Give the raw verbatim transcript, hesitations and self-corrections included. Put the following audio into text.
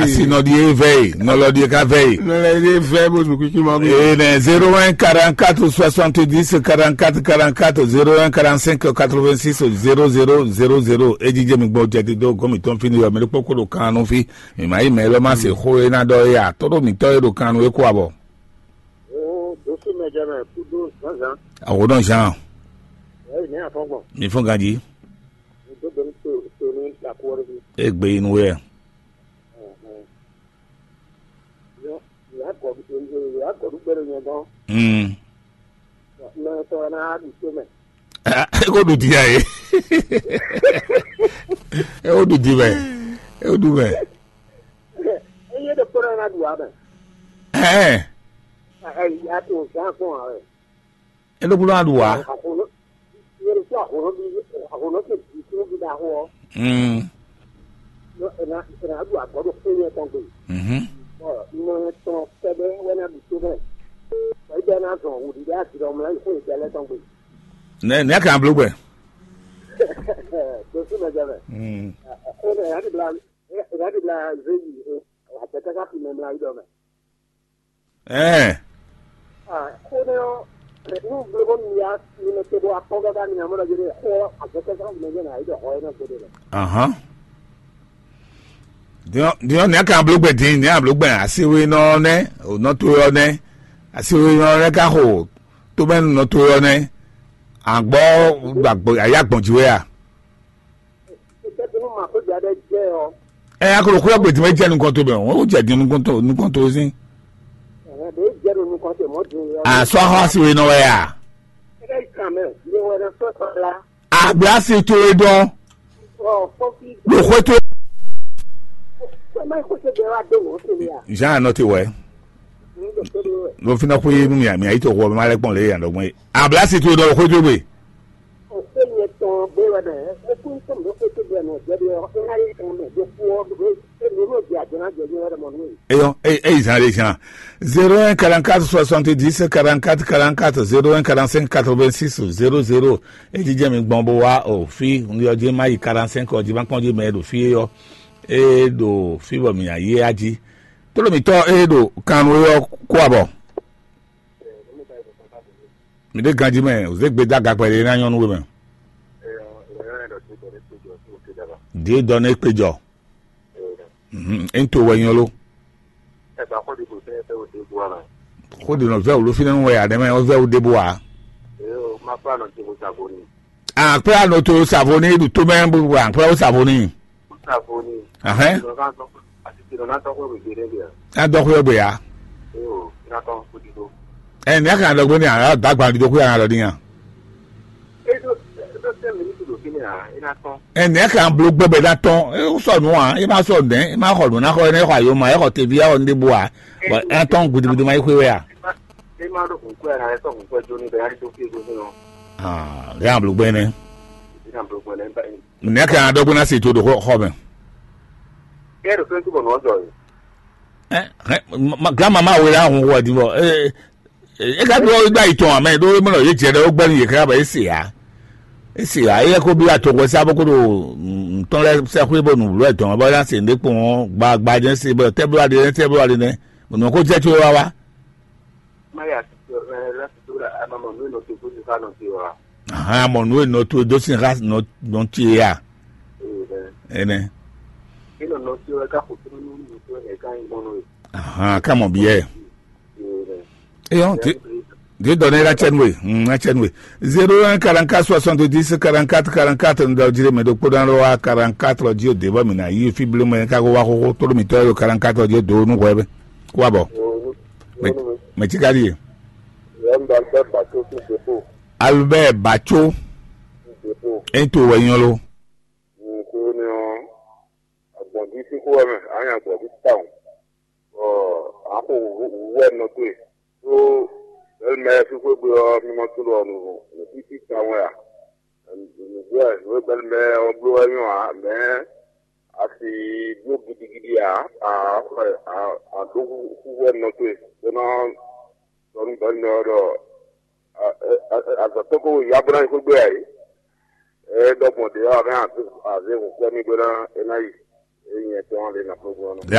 Asi nɔ ɖi e vɛ e, nɔ lɔ ɖi e ka vɛ e. Nɔ lɔ ɖi e vɛ bó zun kúkú ma bó. Ee, nɛ zéro un quarante-quatre soixante-dix quarante-quatre quarante-quatre, zéro un quarante-cinq quatre-vingt-six zéro zéro zéro zéro. E jijɛ mi gbɔ jɛ ti dó gɔmi tɔn fi ni yɔ mi ɖokpó kó ɖo kan nú fi. Mi ma yi mɛ lɔ ma se xó e ná ɖɔ e a tɔ́ ɖo mi tɔ́ e ɖo kan nú e kó abɔ. Dosu mɛ jɛ mɛ kudo zanzan. Awo dɔn zan. Ɛyi ne afɔgbɔn. Mi fɔ ganji. Dodo to to ni lakɔrɔ bi. E gbe yi nu wɛ. Yɔ yɔ akɔ yɔ akɔ ɖu gbɛɖe nyɛ dɔn. Mm. Mɛ tɔ na ɖu to mɛ. E ko ɖu di ya ye. E ko ɖu di mɛ. E ko ɖu mɛ. Eye ɖe kpɔɖɔ na ɖu amɛ. Ɛɛ. Ɛɛ, ya to zan fún wa wɛ. E ɖo kpɔɖɔ na ɖu wa. Axɔnɔ yɛ ɖo tó axɔnɔ bi axɔnɔ ke bi tó bi da xɔ. Mm. Yɔ ɛna ɛna ɖu agbɔ ɖo fún yɛ tɔn gbe. Mhm. Ɔ nɔ tɔn kɛɖɛ wɛ na ɖu tó mɛ. Ɔ yi bɛ na zɔn wò ɖiɖɛ ati ɖɔ mlɛ yi fún yɛ tɛ lɛ tɔn gbe. Ne ne kan blo gbɛ. Dosu mɛ jɛ mɛ. Mm. Ɔ ɛna ya ɖi bla ya ɖi bla zeyi. Wa tɛ tɛ ka fi mɛ mla yi dɔ mɛ. Ɛɛ. Ah, xó nɛ ɔ́, nu vlɛ́ bɔ mi ya mi nɔ te bɔ akpɔ́n káká mi ná mɔ ɖɔ jɛ xó ɔ́ azɔkɛ́sán mi nɔ jɛ nǎ yi ɖɔ xɔ é nɔ gbe ɖe lɛ. Ahán. Diɔ diɔ nɛ̌ ka bló gbɛ din nɛ̌ a bló gbɛ asiwínɔ ɔ́ nɛ́, nɔ to ɔ́ nɛ́, asiwínɔ ɔ́ nɛ́ ka xo tómɛnu nɔ to ɔ́ nɛ́, àgbɔ́ ayá gbɔn jǐ wɛ a? Ɛ a ko ɖo xwé ɔ́ gbe din wɛ jɛ nukɔn to mɛ o, o jɛ din nukɔn to nukɔn to sín. A sɔ axɔ asi we nɔ wɛ a? Agbe asi to e dɔn. Ɖo xwé to. Jean anɔ te wɛ. Ɖo fi na xwé nu mia mia yi to xɔ ma lɛ kpɔn le yan dɔgbɔn ye. Agbe asi to e dɔn ɖo xwé to gbe. Eyɔ, e, e zan ɖe zan. Zéro un quarante-quatre soixante-dix quarante-quatre quarante-quatre, zéro un quarante-cinq quatre-vingt-six zéro zéro. E jijɛ mi gbɔn bo wá o fi un yɔ jí ma yi quarante-cinq ɔ jí ma kpɔn jí mɛ ɖo fi e yɔ. E ɖo fi bɔ mi ayi a jí. Tolo mi tɔ e ɖo kan nu yɔ kó abɔ. Mi ɖe ganjí mɛ, o zé gbe dó aga kpɛɖé ná nyɔ́ nú we mɛ. Ɖě dɔ nɛ kpe jɔ. Mhm, é ń to wɛ nyɔ lo. Xó ɖi nɔ vɛ wǔ ló fínɛ́ nú wɛ ǎ nɛ́ mɛ, ó vɛ wú ɖěbǔ ǎ. Akpɛ́ anɔ to savo ní ɖu tó mɛ bó akpɛ́ ó savo ní. Ahɛn. Ná dɔ xwé ɔ́ gbe ǎ. Ɛ ní a kan dɔ gbé ní a dɔ agban ɖiɖo xwé a nɔ ɖɔ ní a. Ɛ ní a kan blo gbɛ bɛ ná tɔn. É sɔ nǔ a é má sɔ nɛ̌ é má xɔ nǔ ná xɔ é ná xɔ ayoma é xɔ teví é xɔ ní ɖěbǔ a. Bɔ é ná tɔn gudugudu ma yi xwé wɛ a. Aa, lě a blo gbɛ nɛ. Ná blo gbɛ nɛ. Nɛ̌ ka ná ɖɔ gbé ná se to ɖo xɔ xɔ mɛ? Kɛ ɖo fɛn tu bɔ nɔ jɔ yi. Ɛ ɛ ma- ma- gama ma wele ahun wɔ di bɔ ee ee, e ka ɖo gba yi tɔn amɛ ɖo e mɔ yé jɛ ɖe wo gbɛnu yé ká bɔ e se ya. E se ya e yɛ ko bi atɔgɔ sa bɔ ko ɖo ntɔn lɛ sɛ xwé bɔ nu lɔ etɔn bɔ na se nɖe kpɔn gba gba jɛ se bɔ tɛ blo aɖe nɛ tɛ blo aɖe nɛ. Nɔ ko jɛ tso wa wa. Má yà sí ẹ láti tó rà á máa mọ̀ ní ìnà tó tó ti ká nà sí wa. Ahan, mɔ nǔ e nɔ towe dó sin xá nɔ nɔ ce ya. Ee, ɛ. Enɛ. Ní nà nà sí wa ká kò tó ní ní tó ẹ̀ ká ń gbọ́n nù. Ahan, ká mɔ biɛ. Ee, ɛ. Eyɔn ti di dɔ ne la cɛ nue mm la cɛ nue. Zéro un quarante-quatre soixante-dix quarante-quatre quarante-quatre n dɔ jire mɛ ɖokpó ɖan ɖo wa quarante-quatre ɔ dzi o de bɔ mi na yi fi blo mɛ ká ko wa xoxo tó mi tɔ yɔ quarante-quatre ɔ dzi o do nu hwɛ bɛ kó wa bɔ. Mɛ mɛ tsi ka ɖi ye. Yɛn ba gbɛ ba tó sí dépôt. Albert Batso. Dépôt. E to wɛ nyɔ lo. Nko ni ɔ agbɔn di sí kó wɛ mɛ anya agbɔn di ta o. Ɔ ako wɛ nɔ to ye. Tó bɛlɛ mɛ fífó gbe ɔ mi mɔ tó lɔ nù nù títí ta wɛ a. Nùgbɛ nù bɛlɛ mɛ ɔ bló wɛ nyɔ a mɛ a sì bló gidigidi a a a a ɖó fífó nɔ to ye. Tó nɔ tɔ nú bɛlɛ mɛ ɔ ɖɔ azɔ̌ tɔn ko ya bó ná yi xwé gbe ǎ é. É ɖɔ gbɔn ɖě ɔ́, a hɛn azě hǔn kwɛ́ mì bó ná é ná yi. É nyɛ tɔn lě nɔ kplɔ́n gbɔn ɔ́ nɔ.